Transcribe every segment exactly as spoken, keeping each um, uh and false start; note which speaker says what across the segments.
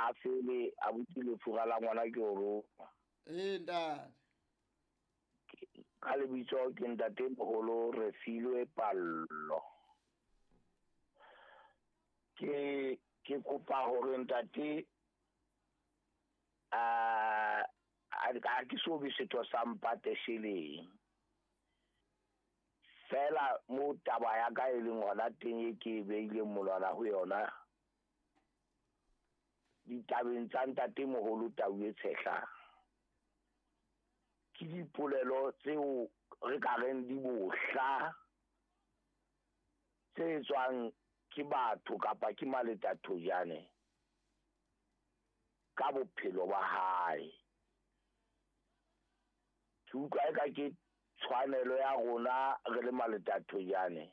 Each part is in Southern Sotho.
Speaker 1: a fele abuti lefura la ngwana ke o roma.
Speaker 2: Ee ntate.
Speaker 1: Ka lebitso ke ntate moholo Refilwe Pallo. Ke ke kopa hore ntate a a ke so be setho sa mpate sheleng. Fela mo taba ya ka e leng hona teng e ke beileng molwana ho yona ditabeng tsa ntate moholo Tau e Tshehla. Ke dipolelo tseo re ka reng di bohla tse tswang ke batho kapa ke Maleta Thojane ka bophelo ba hae. Ke utlwa eka ke tshwanelo ya rona re le Maleta Thojane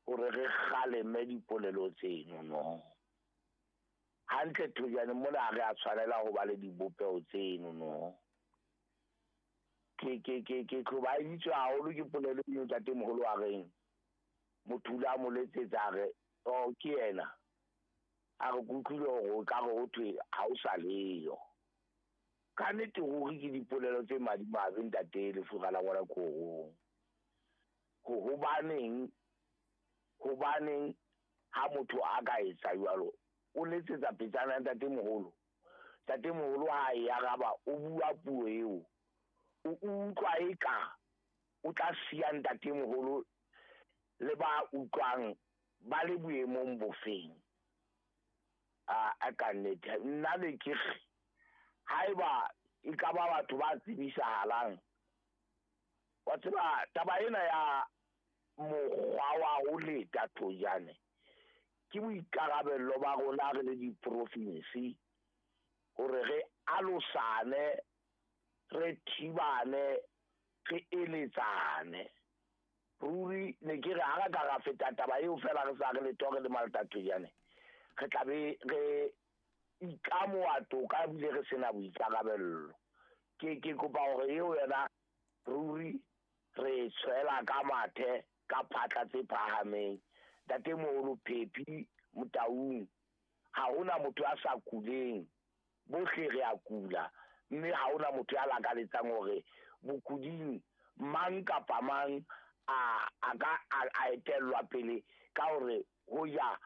Speaker 1: hore re kgaleme dipolelo tseno no. Hantle Thojane mona ha re a tshwanela ho ba le dibopeho tseno no. Ke ke ke ke hlobaeditswe haholo ke polelo eo ntate moholo a reng motho o la mo letsetsa a re oh ke yena a re ke utlwile hore o ka re ho thwe ha o sa leyo. Ka nnete ruri ke dipolelo tse madimabe ntate lefura la ngwana korong. Ho hobaneng hobaneng ha motho a ka etsa jwalo o letsetsa petsana ntate moholo. Ntate moholo ha e araba o bua puo eo o utlwa eka o tla siya ntate moholo le ba utlwang ba le boemong bofeng. A a ka nnete nna le ke re haeba e ka ba batho ba tsebisahalang wa tseba taba ena ya mokgwa wa ho leta Thojane ke boikarabello ba rona re le diprofinsi hore re alosane re thibane re eletsane. Ruri ne ke re ha re ka ra feta taba eo fela re sa re letho re le Maleta Thojane re tla be re ikamoha toka ebile re sena boikarabello. Ke ke kopa hore eo yona ruri re tshwela ka mathe ka phatla tse phahameng. Ntate moholo Phephi Motaung ha hona motho a sa kuleng, bohle re a kula mme ha hona motho ya lakaletsang hore bokuding mang kapa mang a a ka a etellwa pele ka hore ho ya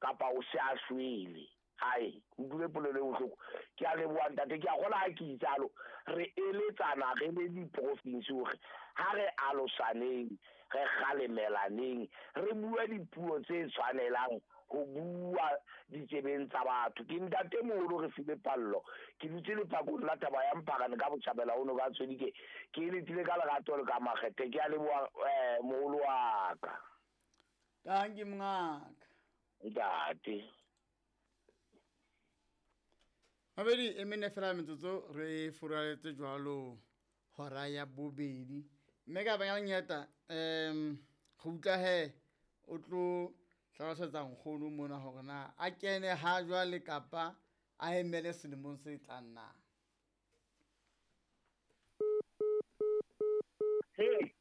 Speaker 1: kapa o se a shwele. Hai utlwile polelo e bohloko. Ke a leboha ntate, ke a kgola ha ke itsalo re eletsana re le diprofinsi hore ha re alosaneng re kgalemelaneng re bue dipuo tse tshwanelang ho bua ditsebeng tsa batho. Ke ntate moholo Refilwe Pallo ke dutse lephakong la taba ya Mphakane ka botjhabela ho noka Tshwedike. Ke eletile ka lerato le ka makgethe. Ke a leboha eh moholo wa ka.
Speaker 2: Tanki mongaka.
Speaker 1: Ntate.
Speaker 2: Mabedi e mene fela metsotso re furaletse jwalo hora ya bobedi. Mme ka banya nyeta em go utlwa he o tlo hlalosetsa nkgono mona hore na a kene ha jwale kapa a emele selemong se tlang na.
Speaker 3: Hey.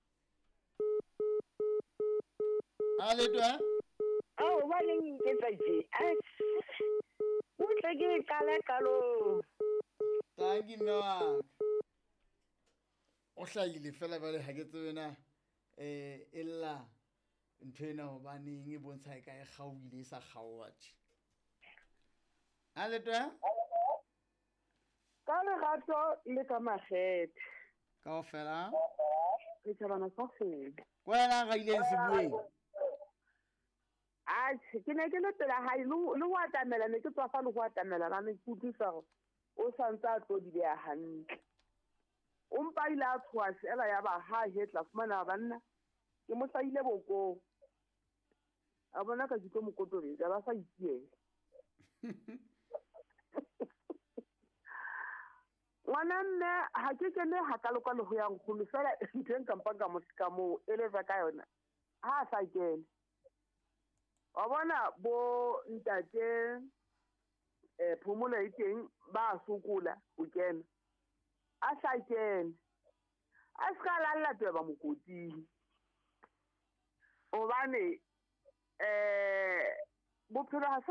Speaker 2: A le twa?
Speaker 3: Oh, ba leng ke tsa tje. O tle ke qala qalo.
Speaker 2: Tanki mme wa ka. O hlahile fela jwale ha ke tsebe na eh e lla ntho ena hobaneng e bontsha e ka e kgaohile e sa kgaoha tje. A le twa?
Speaker 4: Ka lerato le ka makgethe.
Speaker 2: Kaofela?
Speaker 4: Re tjhabana sa kgwedi.
Speaker 2: Ko wena ra ileng sebueng?
Speaker 4: Atjhe, ke ne ke le pela hae le le ho atamela ne ke tswafa le ho atamela ba ne ke utlwisa hore o santse a tlo di beha hantle. O mpa ile a tshoha fela ya ba ha hetla fumana banna ke mo hlahile bokong. A bona ka ke tlo mo kotobetsa ba sa itiela. Ngwana mme ha ke kene hakalo-kalo ho ya nkgono fela ntho e nka mpang ka mo ka mo eletsa ka yona ha a sa kene. Wa bona bo ntate eh phomolo e teng ba sokola ho kena. A sa kene. A ska lalla tweba mokoting. Hobane eh bophelo ha